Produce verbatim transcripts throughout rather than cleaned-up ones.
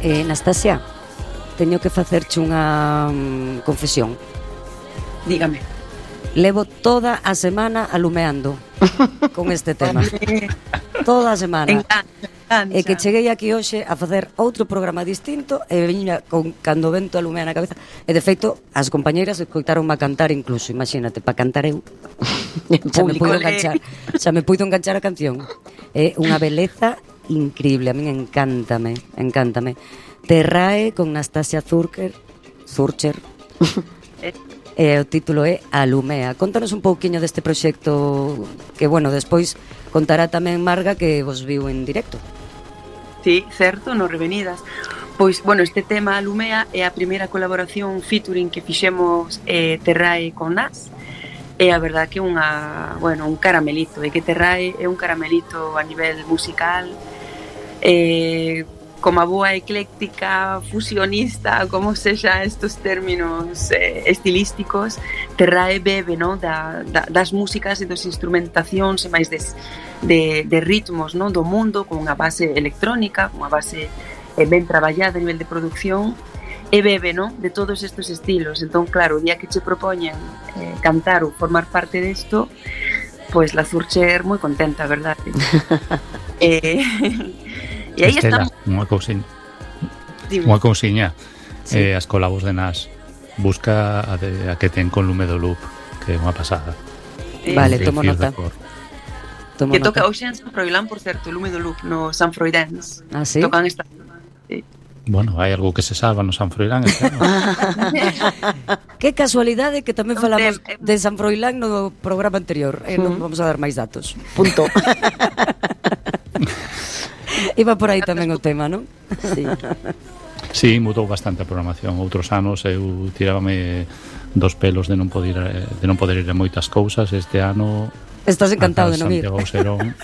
Eh, Anastasia, teño que facerche unha um, confesión. Dígame. Levo toda a semana alumeando con este tema. Toda a semana. Engancha, engancha. E que cheguei aquí hoxe a facer outro programa distinto e viña con cando o vento alumea na cabeza. E de feito, as compañeiras escoitaronme a cantar incluso, imagínate, para cantar eu. Xa me puido enganchar, xa me puido enganchar a canción. É unha beleza increíble, a min encántame, encántame. Terrae con Nastasia Zurcher, Zurcher. E o título é Alumea. Contanos un pouquiño deste proxecto que, bueno, despois contará tamén Marga que vos viu en directo. Sí, certo, no Revenidas. Pois, bueno, este tema Alumea é a primeira colaboración featuring que fixemos eh, Terrae con Nas. E a verdad que é unha, bueno, un caramelito, e que Terrae é un caramelito a nivel musical, eh, como a boa ecléctica, fusionista, como sexa estos términos eh, estilísticos, Terrae bebe, no, da, da, das músicas e das instrumentacións e máis des, de, de ritmos, no, do mundo, con unha base electrónica, con unha base eh, ben traballada a nivel de producción, e bebe, no, de todos estes estilos. Entón, claro, o día que che propoñen eh, cantar ou formar parte desto, pois la Zurcher moi contenta, verdade? eh... E aí Estela, estamos. unha cousiña. Unha cousiña. Sí. Eh, as colabos de Nas. Busca a, de, a que ten con Lume do Loop, que é unha pasada. Eh, vale, tomo nota. Tomo que nota. Toca hoxe en San Froilán, por certo, Lume do Loop, no San Froidans. Ah, sí? Tocan esta... Sí. Bueno, hai algo que se salva no San Froilán. Que casualidade que tamén falamos de San Froilán no programa anterior. Eh, non vamos a dar máis datos. Punto. Iba por aí tamén o tema, non? Sí. Sí, mudou bastante a programación. Outros anos eu tirábame dos pelos de non poder de non poder ir a moitas cousas. Este ano estás encantado de non ir. Santiago Serón.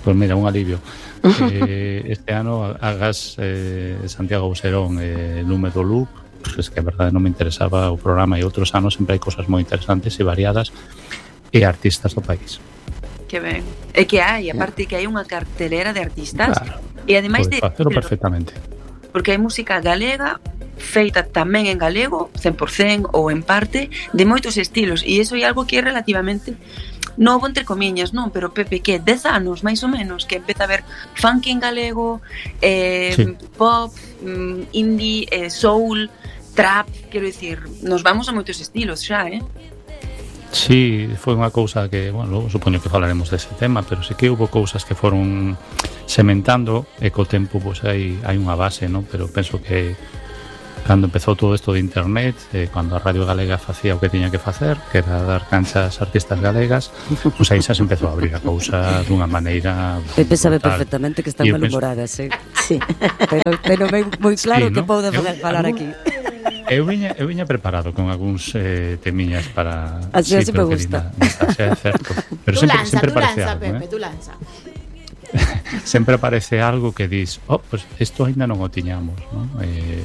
Pois mira, un alivio. eh, este ano hagas eh, Santiago Serón e eh, Lume do Loop, pues que a verdade non me interesaba o programa, e outros anos sempre hai cosas moi interesantes e variadas e artistas do país. Que ben. É que hai, aparte que hai unha cartelera de artistas, claro, e ademais de facelo perfectamente. Porque hai música galega feita tamén en galego, cen por cento ou en parte, de moitos estilos, e iso é algo que é relativamente novo, entre comiñas, non? Pero Pepe, que dez anos, máis ou menos, que empeza a ver funk en galego, eh, sí. pop, indie, eh, soul, trap, quero dicir, nos vamos a moitos estilos xa, eh? Sí, foi unha cousa que, bueno, logo supoño que falaremos dese tema, pero sí que houve cousas que foron sementando e co tempo, pois hai, hai unha base, non? Pero penso que cando empezou todo isto de internet, eh, cando a Radio Galega facía o que tiña que facer, que era dar cancha ás artistas galegas, pois aí xa se empezou a abrir a cousa dunha maneira Pepe sabe perfectamente que están malhumoradas, eh? Sí. Pero, pero moi claro sí, que ¿no? Pode falar, falar aquí. Eu viña, eu viña preparado con algúns eh, temiñas para... Así, sí, así me gusta. Xa é certo. Pero tú sempre, lanza, sempre tú parece lanza, algo, Pepe, eh? tú lanza. Sempre aparece algo que dis, oh, pues isto ainda non o tiñamos, non? Eh,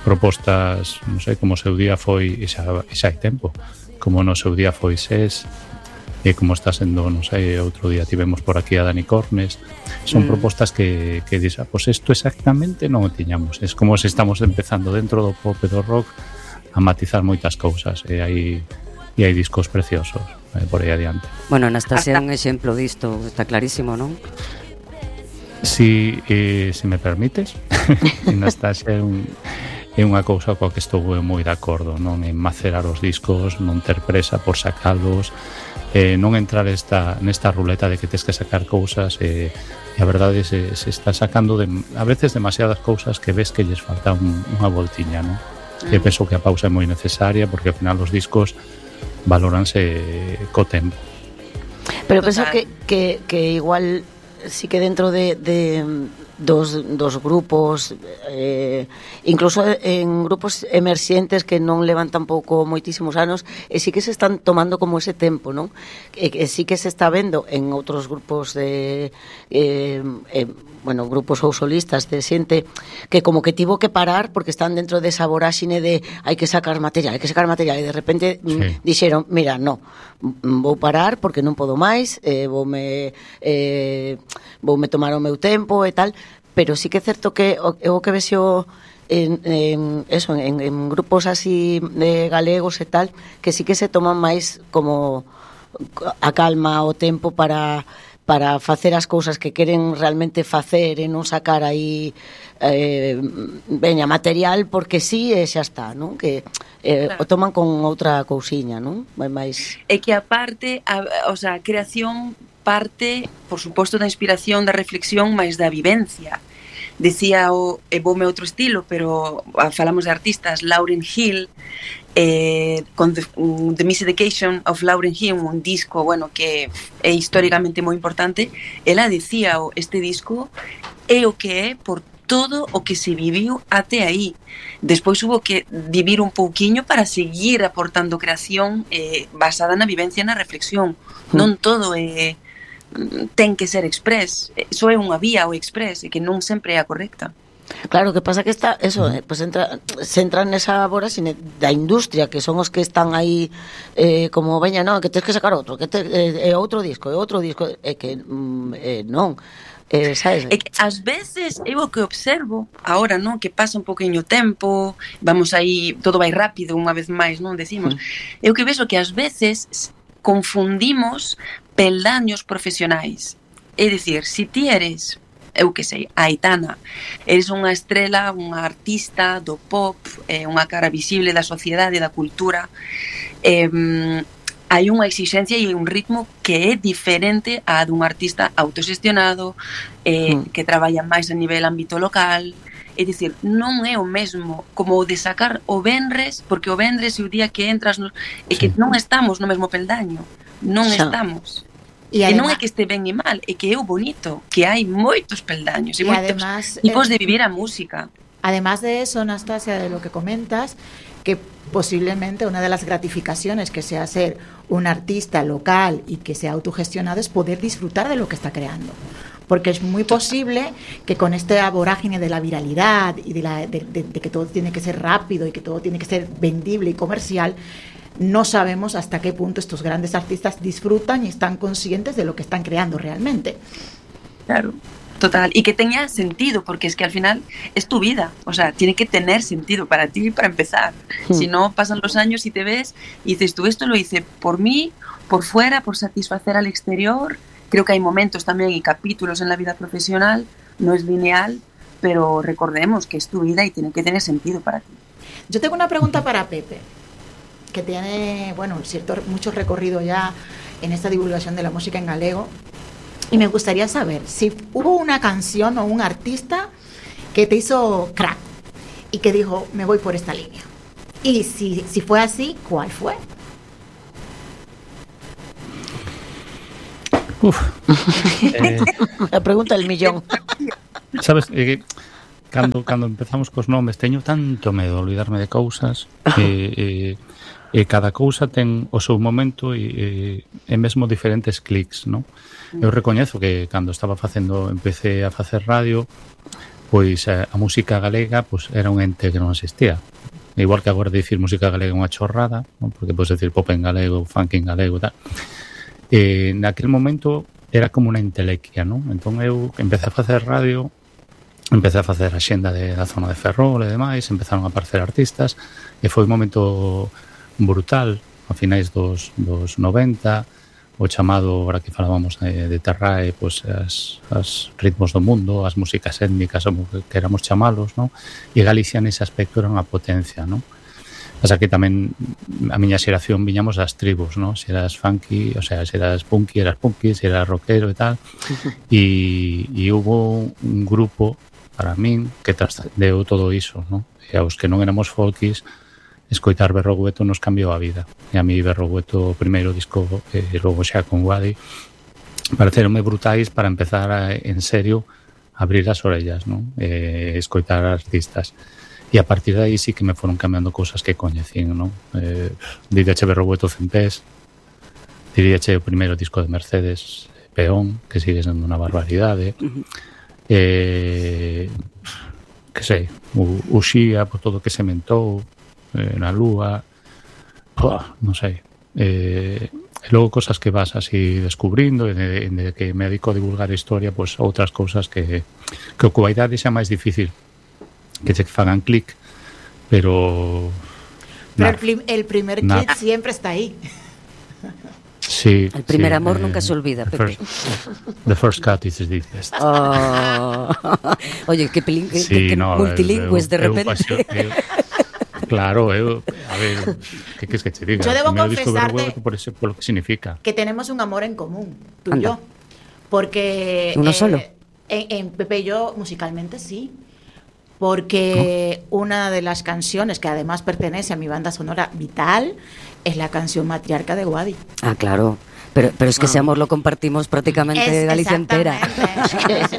propostas, non sei, como o seu día foi, e xa, e xa hai tempo, como no seu día foi SES, e como está sendo, non sei, outro día tivemos por aquí a Dani Cornes, son mm. propostas que, que dis, ah, pues isto exactamente non o tiñamos, es como se estamos empezando dentro do pop e do rock a matizar moitas cousas, e hai, e hai discos preciosos eh, por aí adiante. Bueno, Anastasia é un exemplo disto, está clarísimo, non? Si, eh, si me permites, Anastasia é un... é unha cousa coa que estou moi de acordo, non? En macerar os discos, non ter presa por sacalos, eh, non entrar esta, nesta ruleta de que tens que sacar cousas, e, e a verdade se, se está sacando de, a veces demasiadas cousas que ves que lles falta un, unha voltiña, non? Mm. E penso que a pausa é moi necesaria, porque ao final os discos valóranse co tempo. Pero penso que, que, que igual sí que dentro de... de dos, dos grupos eh, incluso en grupos emerxentes que non levan tampouco moitísimos anos, e sí que se están tomando como ese tempo, non? E, e sí que se está vendo en outros grupos de eh, eh, bueno, grupos ou solistas de xente que como que tivo que parar porque están dentro desa voráxine de hai que sacar material, hai que sacar material, e de repente sí. m, dixeron, mira, no, vou parar porque non podo máis, eh, voume eh, voume tomar o meu tempo e tal. pero sí que é certo que o, o que vexo en, en, eso, en, en grupos así de galegos e tal, que sí que se toman máis como a calma, o tempo para para facer as cousas que queren realmente facer e non sacar aí eh, veña, material porque sí e xa está, non? Que eh, claro. O toman con outra cousiña, non? Vai máis... É que aparte, a, o sea, a creación parte, por suposto, da inspiración, da reflexión, máis da vivencia. Decía o, e voume outro estilo, pero falamos de artistas, Lauryn Hill, eh, con The, um, The Miseducation of Lauryn Hill, un disco, bueno, que é históricamente moi importante. Ela decía, o, este disco é o que é por todo o que se viviu até aí. Despois hubo que vivir un pouquiño para seguir aportando creación eh, basada na vivencia e na reflexión. Mm. Non todo é, ten que ser express. Só é unha vía o express e que non sempre é a correcta. Claro, que pasa que está eso, eh, pues entra, se entra nesa voráxine da industria, que son os que están aí eh, como veña, non, que tens que sacar outro, que te, eh, outro disco, e outro disco, é que mm, eh, non. Eh, sabes? É que ás veces eu o que observo agora, non, que pasa un poquinho tempo, vamos aí, todo vai rápido unha vez máis, non decimos. Mm. Eu que vexo que ás veces confundimos peldaños profesionais. É dicir, se ti eres, eu que sei, Aitana, eres unha estrela, unha artista do pop, eh, unha cara visible da sociedade, da cultura, eh, hai unha exigencia e un ritmo que é diferente a dun artista autoxestionado, eh, mm. que traballa máis a nivel ámbito local. É dicir, non é o mesmo como o de sacar o venres, porque o venres é o día que entras no, é que non estamos no mesmo peldaño, non Xa. estamos. E, además, e non é que este ben e mal, é que é o bonito, que hai moitos peldaños e, e moitos además, tipos eh, de vivir a música. Además de eso, Anastasia, de lo que comentas, que posiblemente una de las gratificaciones que sea ser un artista local y que sea autogestionado es poder disfrutar de lo que está creando. Porque es muy posible que con esta vorágine de la viralidad y de, la, de, de, de que todo tiene que ser rápido y que todo tiene que ser vendible y comercial, no sabemos hasta qué punto estos grandes artistas disfrutan y están conscientes de lo que están creando realmente. Claro, total. Y que tenga sentido, porque es que al final es tu vida. O sea, tiene que tener sentido para ti para empezar. Mm. Si no, pasan los años y te ves y dices, tú esto lo hice por mí, por fuera, por satisfacer al exterior. Creo que hay momentos también y capítulos en la vida profesional, no es lineal, pero recordemos que es tu vida y tiene que tener sentido para ti. Yo tengo una pregunta para Pepe, que tiene, bueno, cierto, mucho recorrido ya en esta divulgación de la música en galego, y me gustaría saber si hubo una canción o un artista que te hizo crack y que dijo, me voy por esta línea. Y si, si fue así, ¿cuál fue? Uf. eh, la pregunta del millón. Sabes, eh, cando, cando empezamos cos nomes teño tanto medo de olvidarme de cousas e, eh, eh, cada cousa ten o seu momento e, e, e mesmo diferentes clics, non? Eu recoñezo que cando estaba facendo, empecé a facer radio, pois a, a música galega pois era un ente que non existía. Igual que agora dicir música galega é unha chorrada, non? Porque podes decir pop en galego, funk en galego, tal. E naquele momento era como unha entelequia, non? Entón eu empecé a facer radio, empecé a facer a xenda de, da zona de Ferrol e demais, empezaron a aparecer artistas e foi un momento brutal a finais dos, dos noventa, o chamado, agora que falábamos de, de Terrae, pois as, as ritmos do mundo, as músicas étnicas, como que queramos chamalos, non? E Galicia nese aspecto era unha potencia, non? Pasa que tamén a miña xeración viñamos das tribus, non? Se eras funky, o sea, se eras punky, eras punky, se eras rockero e tal. E, e hubo un grupo, para min, que trascendeu todo iso, non? E aos que non éramos folkis, escoitar Berrogueto nos cambiou a vida. E a mí Berrogueto, o primeiro disco, e logo xa con Wadi, pareceronme brutais para empezar a, en serio, abrir as orellas, non? E escoitar artistas. E a partir de aí sí que me foron cambiando cousas que coñecín, non? Eh, diríache Berrogueto Cempés, diríache o primeiro disco de Mercedes, Peón, que sigue sendo unha barbaridade. Uh-huh. Eh, que sei, o, o Xía, por todo o que sementou, eh, na Lúa, oh, non sei. Eh, e logo cosas que vas así descubrindo, e de, de que me dedico a divulgar historia, pois pues, outras cousas que que o coa idade xa máis difícil que che fagan clic, pero pero el, prim, el primer clic siempre está ahí. Sí, el primer sí, amor eh, nunca se olvida, the Pepe. First, the first cut is the deepest. Oh. Oye, que, pelín, que, sí, que no, multilingües de repente. Eu, eu, eu, claro, eu, a ver, que queres que te diga? Yo debo confesarte por, eso, por lo que significa. Que tenemos un amor en común, tú Anda. y yo. Porque... ¿Uno eh, solo? En, en Pepe y yo, musicalmente, sí. Porque ¿no? una de las canciones que además pertenece a mi banda sonora vital es la canción Matriarca de Guadi. Ah, claro. Pero, pero es que ah. ese amor lo compartimos prácticamente es, Galicia entera. Sí.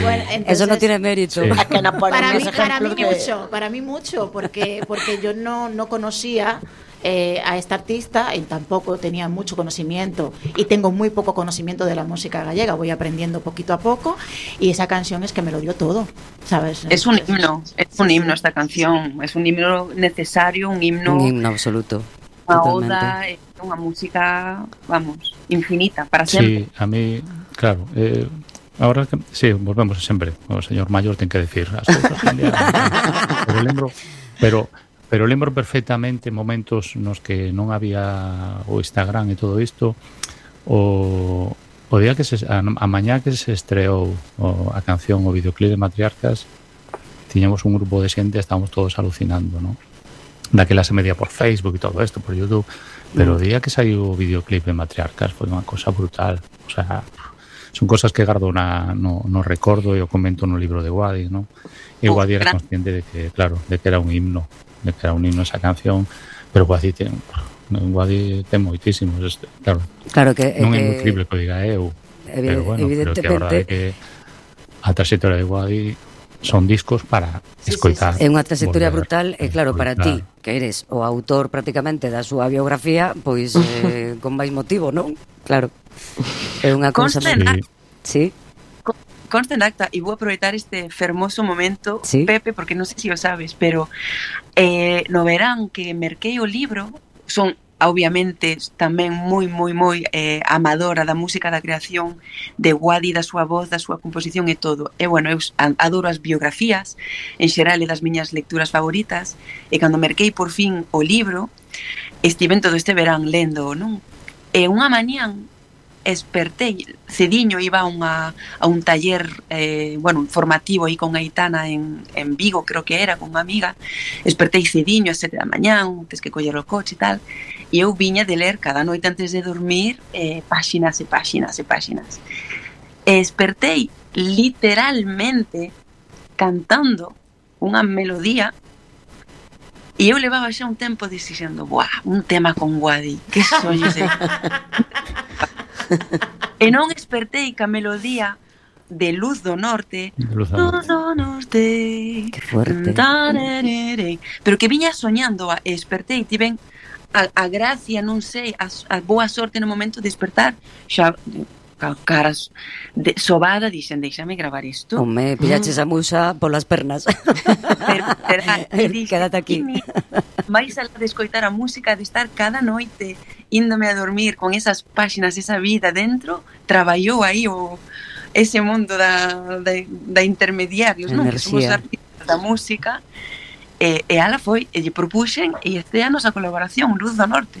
Bueno, entonces, eso no tiene mérito. Sí. Para mí, para mí que... mucho, para mí mucho, porque, porque yo no, no conocía eh, a esta artista y tampoco tenía mucho conocimiento y tengo muy poco conocimiento de la música gallega, voy aprendiendo poquito a poco y esa canción es que me lo dio todo, ¿sabes? Es un himno, es un himno esta canción, es un himno necesario, un himno... Un himno absoluto. Unha oda, é unha música, vamos, infinita, para sempre. Sí, a mí, claro, eh, ahora que, sí, volvemos sempre, o señor Maior ten que decir as cousas cambiaron, pero lembro, pero pero lembro perfectamente momentos nos que non había o Instagram e todo isto, o o día que se a, a mañá que se estreou o, a canción, o videoclip de Matriarcas, tiñamos un grupo de xente, estábamos todos alucinando, ¿no? Daquela se medía por Facebook e todo isto, por YouTube, pero o día que saiu o videoclip de Matriarcas foi unha cosa brutal, o sea, son cosas que gardo na, no, no recordo e o comento no libro de Guadi, ¿no? E Guadi era consciente de que, claro, de que era un himno, de que era un himno esa canción, pero Guadi ten, Guadi ten moitísimos, claro, claro que, non eh, é moi creíble que o diga eu, pero bueno, pero que a verdade é que a trayectoria de Guadi son discos para sí, escoitar. Sí, sí. É unha trayectoria brutal e claro, para ti, que eres o autor prácticamente da súa biografía, pois eh, con máis motivo, non? Claro. É unha cousa... Sí. Consta en acta, e vou aproveitar este fermoso momento, ¿sí? Pepe, porque non sei se o sabes, pero eh, no verán que merquei o libro, son obviamente tamén moi, moi, moi eh, amadora da música, da creación de Guadi, da súa voz, da súa composición e todo. E, bueno, eu adoro as biografías, en xeral, e das miñas lecturas favoritas, e cando merquei por fin o libro, estiven todo este verán lendo, non? E unha mañán espertei, cediño, iba a, unha, a un taller eh, bueno, formativo aí con Aitana en, en Vigo, creo que era, con unha amiga, espertei cediño a sete da mañán, tes que coller o coche e tal, e eu viña de ler cada noite antes de dormir eh, páxinas e páxinas e páxinas. E espertei literalmente cantando unha melodía e eu levaba xa un tempo dixendo, buah, un tema con Guadi, que soños de... E non espertei que a melodía de Luz do Norte, Luz do Norte, que fuerte, pero que viña soñando, e espertei, tiven a, a gracia, non sei, a, a boa sorte no momento de despertar, xa caras de, sobada, dixen, deixame gravar isto. Home, pillaches a musa polas pernas. Pero, pero, e dixen, quédate aquí. Vais a de escoitar a música, de estar cada noite índome a dormir con esas páxinas, esa vida dentro, traballou aí o, ese mundo da, da, da intermediarios, non? Que somos artistas da música. E, e ala foi, e lle propuxen, e este ano a colaboración, Luz do Norte.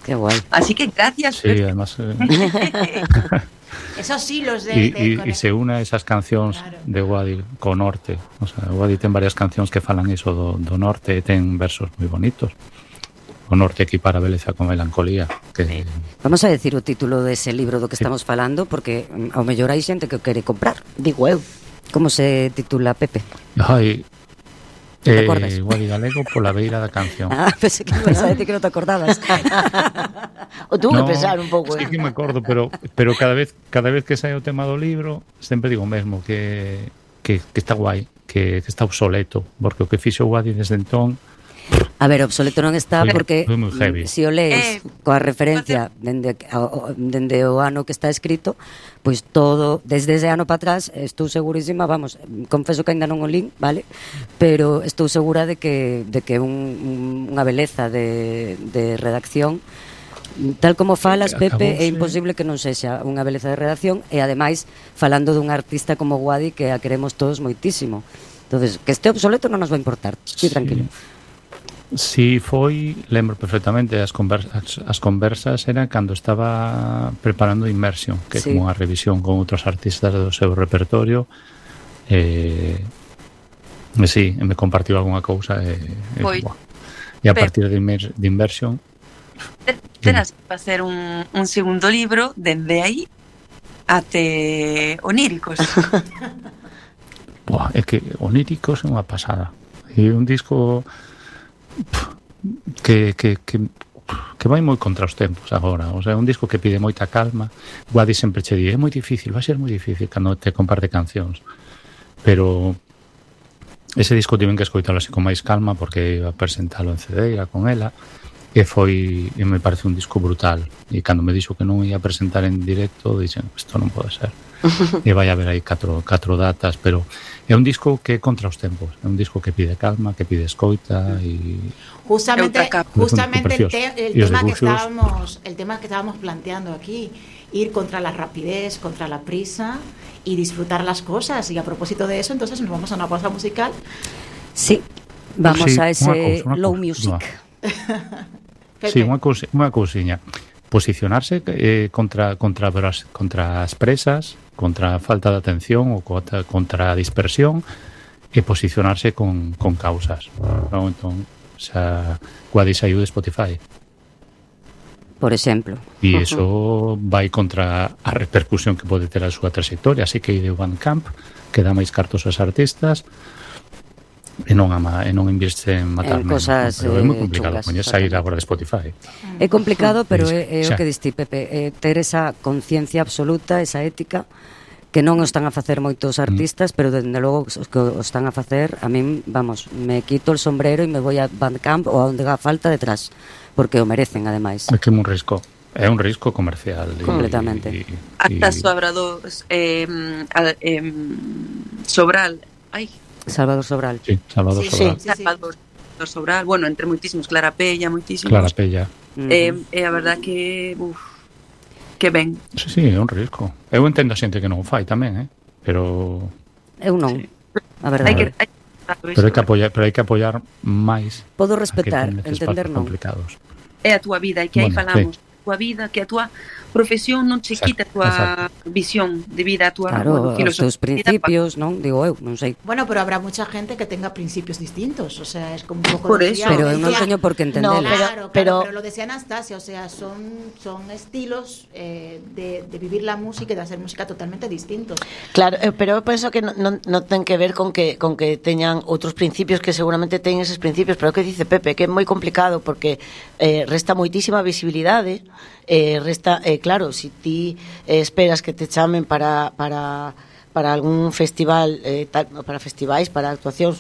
Qué guay. Así que gracias. Sí, además... Eh... Esos hilos de... Y, de y, y se une esas cancións claro. de Guadi co norte. O sea, Guadi ten varias cancións que falan iso do, do norte, ten versos moi bonitos. O norte equipara beleza con melancolía. Que... Vamos a decir o título dese libro do que estamos sí. falando, porque ao mellor hai xente que o quere comprar. Digo eu. Como se titula, Pepe? Ai... ¿Te acordas? Eh, Guadi Galego pola beira da canción. Ah, pensé que me ibas a decir que non te acordabas. O tuve no, que pensar un pouco. Sí que me acordo, pero pero cada vez cada vez que sai o tema do libro, sempre digo o mesmo, que, que, que está guai, que, que está obsoleto, porque o que fixo Guadi desde entón... A ver, obsoleto non está foi, porque foi se o lees eh, coa referencia dende, dende o ano que está escrito, pois pues todo, desde ese ano para atrás, estou segurísima, vamos, confeso que ainda non o lín, vale? Pero estou segura de que de que un, un, unha beleza de, de redacción tal como falas, Pepe, Acabouse. é imposible que non sexa unha beleza de redacción e ademais falando dun artista como Guadi que a queremos todos moitísimo. Entonces, que este obsoleto non nos va a importar. Sí, tranquilo. Si foi, lembro perfectamente, as conversas, as conversas eran cando estaba preparando Immersion, que é Sí. como unha revisión con outros artistas do seu repertorio. Eh, e sí, me compartiu algunha cousa e, e, Foi. buah. E a partir de, Immer, de Immersion Terás que facer un, un segundo libro dende aí até oníricos. buah, é que Oníricos é unha pasada. E un disco que, que, que, que vai moi contra os tempos agora. O sea, un disco que pide moita calma. Guadi sempre che di, é moi difícil, vai ser moi difícil cando te comparte cancións. Pero ese disco tiven que escoitalo así con máis calma porque iba a presentalo en C D, iba con ela, e foi, e me parece un disco brutal. E cando me dixo que non ia a presentar en directo, dixen, isto non pode ser. E vai haber aí catro, catro datas, pero é un disco que é contra os tempos, é un disco que pide calma, que pide escoita e Justamente, justamente el, te, el y tema que dibujos. estábamos, el tema que estábamos planteando aquí, ir contra la rapidez, contra la prisa y disfrutar las cosas. Y a propósito de eso, entonces nos vamos a una pausa musical. Sí, vamos Sí, a ese unha cousa, unha low cousa, music. Pepe. sí, unha cousa, unha cousiña. Posicionarse eh, contra contra as contra as presas, contra a falta de atención ou contra, contra a dispersión e posicionarse con, con causas. Non? Entón, o sea, Guadi saiu de Spotify. Por exemplo. E iso vai contra a repercusión que pode ter a súa trayectoria, así que ide Bandcamp, que dá máis cartos aos artistas e non ama, e non investe en matar En menos, cosas, pero é moi eh, complicado chungas, poñer sair exactamente. agora de Spotify. É complicado, pero é, é o Xa. que diste, Pepe, é ter esa conciencia absoluta, esa ética que non o están a facer moitos artistas, pero dende logo os que o están a facer, a min, vamos, me quito el sombrero e me voy a Bandcamp ou a onde haga falta detrás, porque o merecen ademais. É que é un risco, é un risco comercial. e- Completamente. e- e- Hasta Sobrados, eh, al- eh, Sobral, ai, Salvador Sobral. Sí, Salvador Sí, Sobral. sí, sí. Salvador Sobral, bueno, entre moitísimos, Clara Pella, moitísimos. Clara Pella. Uh-huh. Eh, e a verdad que, uf, que ben. Sí, sí, é un risco. Eu entendo a xente que non o fai tamén, eh? Pero Eu non, Sí. a verdade. Hai que, hai que pero hai que apoiar, pero hai que apoiar máis. Podo a respetar, que ten estes entender espacios non. complicados. É a túa vida, e que aí Bueno, falamos, a túa vida, que a túa profesión non che Exacto, quita a túa exacto. visión de vida, a túa Claro, bueno, os teus principios, non? Digo eu, non sei. Bueno, pero habrá mucha gente que tenga principios distintos, o sea, es como un poco... Por decía- eso. Pero eu non decía- teño por que entendelo. No, pero- Claro, claro, pero- pero lo decía Anastasia, o sea, son, son estilos eh, de, de vivir la música y de hacer música totalmente distintos. Claro, eh, pero eu penso que non, non, non ten que ver con que con que teñan outros principios, que seguramente teñen eses principios, pero o que dice Pepe, que é moi complicado porque eh, resta moitísima visibilidade, eh, resta, eh, claro, si ti eh, esperas que te chamen para para para algún festival, eh, tal, para festivais, para actuacións,